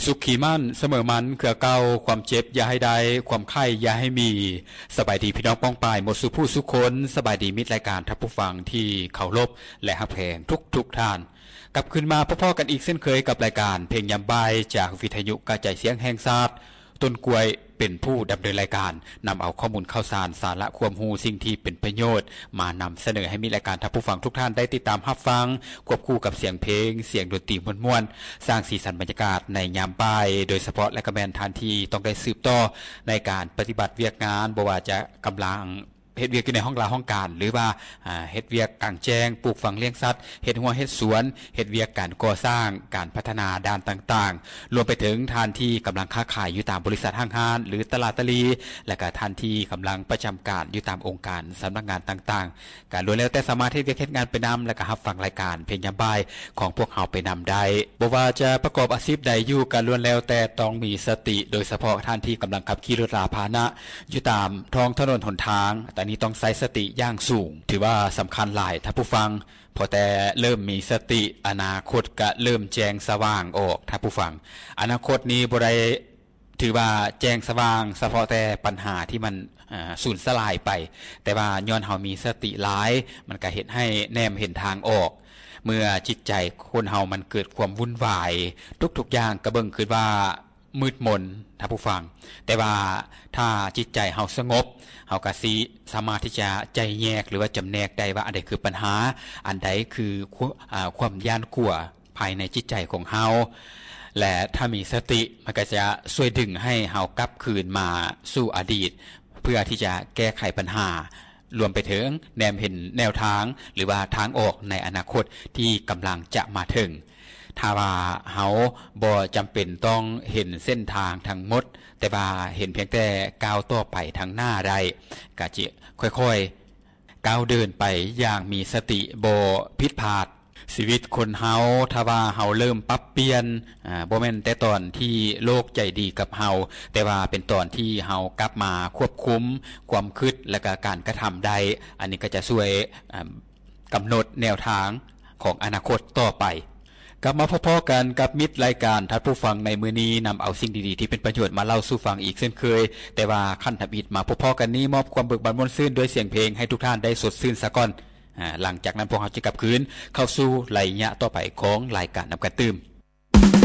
ສຸກຂີ້ໝັ້ນສະເໝີໝັນເຄືອເກົ່າ, ຄວາມເຈັບຢ່າໃຫ້ໄດ້, ຄວາມໄຂ້ຢ່າໃຫ້ມີ. ສະບາຍດີພີ່ນ້ອງປ້ອງປາຍໝົດສູ່ຜູ້ສູ່ຄົນ, ສະບາຍດີມິດລາຍການທ່ານຜູ້ຟັງທີ່ເຄົາລົບ ແລະ ຮັກແພງທຸກໆທ່ານ. ກັບຄືນມາພົບພໍ້ກັນອີກເຊັ່ນເຄີຍກັບລາຍການເພງຍາມບ່າຍ ຈາກວິທະຍຸກະຈາຍສຽງແຫ່ງຊາດ. ຕົ້ນກ້ວຍເປັນຜູ້ດຳເນີນລາຍການ, ນຳເອົາຂໍ້ມູນຂ່າວສານ, ສາລະຄວາມຮູ້, ສິ່ງທີ່ເປັນປະໂຫຍດ ມານຳສະເໜີໃຫ້ມິດລາຍການທ່ານຜູ້ຟັງທຸກທ່ານໄດ້ຕິດຕາມຮັບຟັງ, ຄວບຄູ່ກັບສຽງເພງ, ສຽງດົນຕີມ່ວນໆ, ສ້າງສີສັນບັນຍາກາດໃນຍາມບ່າຍໂດຍສະເພາະ ແລະ ກະແມ່ນທ່ານທີ່ຕ້ອງໄດ້ສືບຕໍ່ໃນການປະຕິບັດວຽກງານ, ບໍ່ວ່າຈະກຳລັງເຮັດວຽກຢູ່ໃນຫ້ອງລາຫ້ອງການ ຫຼືວ່າ ອາ ເຮັດວຽກກາງແຈ້ງ, ປູກຝັງລ້ຽງສັດ, ເຮັດຮົ້ວເຮັດສວນ, ເຮັດວຽກການກໍ່ສ້າງ, ການພັດທະນາດ້ານຕ່າງໆ, ລວມໄປເຖິງທ່ານທີ່ກຳລັງຄ້າຂາຍຢູ່ຕາມບໍລິສັດຫ້າງຮ້ານ ຫຼື ຕະຫຼາດຕະຫຼີ່, ແລະ ກະທ່ານທີ່ກຳລັງປະຈຳການຢູ່ຕາມອົງການສຳນັກງານຕ່າງໆ, ກະລ້ວນແລ້ວແຕ່ສາມາດເຮັດວຽກເຮັດງານໄປນຳ ແລະ ກະຮັບຟັງລາຍການເພງຍາມບ່າຍຂອງພວກເຮົາໄປນຳໄດ້. ບໍ່ວ່າຈະປະກອບອາຊີບໃດຢູ່ ກະລ້ວນແລ້ວແຕ່ຕ້ອງມີສະຕິ, ໂດຍສະເພາະທ່ານທີ່ກຳລັງຂັບຂີ່ລົດລາພາຫະນະຢູ່ຕາມທ້ອງຖະໜົນຫົນທາງ, ອັນນີ້ຕ້ອງໃຊ້ສະຕິຢ່າງສູງ, ຖືວ່າສຳຄັນຫຼາຍທ່ານຜູ້ຟັງ. ພໍແຕ່ເລີ່ມມີສະຕິ, ອະນາຄົດກະເລີ່ມແຈ້ງສະຫວ່າງອອກ, ທ່ານຜູ້ຟັງ. ອະນາຄົດນີ້ບໍ່ໄດ້ຖືວ່າແຈ້ງສະຫວ່າງສະເພາະແຕ່ປັນຫາທີ່ມັນ ອາ ສູນສະຫຼາຍໄປ, ແຕ່ວ່າຍ້ອນເຮົາມີສະຕິຫຼາຍ, ມັນກະເຮັດໃຫ້ແນມເຫັນທາງອອກ. ເມື່ອຈິດໃຈຄົນເຮົາມັນເກີດຄວາມວຸ່ນວາຍ, ທຸກໆຢ່າງກະເບິ່ງຄືວ່າ ມືດມົນ, ທ່ານຜູ້ຟັງ. ແຕ່ວ່າຖ້າຈິດໃຈເຮົາສະຫງົບ, ເຮົາກະຊິສາມາດທີ່ຈະໄຈແຍກ ຫຼືວ່າຈຳແນກໄດ້ວ່າ ອັນໃດຄືປັນຫາ, ອັນໃດຄືຄວາມ ອາ ຄວາມຢ້ານກົວພາຍໃນຈິດໃຈຂອງເຮົາ. ແລະ ຖ້າມີສະຕິ, ມັນກະຈະຊ່ວຍດຶງໃຫ້ເຮົາກັບຄືນມາສູ່ອະດີດ, ເພື່ອທີ່ຈະແກ້ໄຂບັນຫາ, ລວມໄປເຖິງແນມເຫັນແນວທາງ ຫຼືວ່າທາງອອກໃນອະນາຄົດທີ່ກຳລັງຈະມາເຖິງ. ຖ້າວ່າເຮົາບໍ່ຈຳເປັນຕ້ອງເຫັນເສັ້ນທາງທັງໝົດ, ແຕ່ວ່າເຫັນພຽງແຕ່ກ້າວຕໍ່ໄປທາງໜ້າໄດ້, ກະຈະຄ່ອຍໆກ້າວເດີນໄປຢ່າງມີສະຕິ, ບໍ່ຜິດພາດ. ຊີວິດຄົນເຮົາ, ຖ້າວ່າເຮົາເລີ່ມປັບປ່ຽນ, ອາ, ບໍ່ແມ່ນແຕ່ຕອນທີ່ໂລກໃຈດີກັບເຮົາ, ແຕ່ວ່າເປັນຕອນທີ່ເຮົາກັບມາຄວບຄຸມຄວາມຄິດ ແລະ ກະການກະທຳໄດ້, ອັນນີ້ກະຈະຊ່ວຍ, ອາ, ກຳນົດແນວທາງຂອງອະນາຄົດຕໍ່ໄປ. ກັບມາພໍ້ໆກັນກັບມິດລາຍການທ່ານຜູ້ຟັງໃນມື້ນີ້, ນຳເອົາສິ່ງດີໆທີ່ເປັນປະໂຫຍດມາເລົ່າສູ່ຟັງອີກເຊັ່ນເຄີຍ, ແຕ່ວ່າຂັ້ນທຳອິດມາພົບພໍ້ກັນນີ້, ມອບຄວາມເບີກບານມ່ວນຊື່ນດ້ວຍສຽງເພງໃຫ້ທຸກທ່ານໄດ້ສົດຊື່ນສາກ່ອນ. ອາ, ຫຼັງຈາກນັ້ນພວກເຮົາຈະກັບຄືນເຂົ້າສູ່ໄລຍະຕໍ່ໄປຂອງລາຍການນຳກັນຕື່ມ.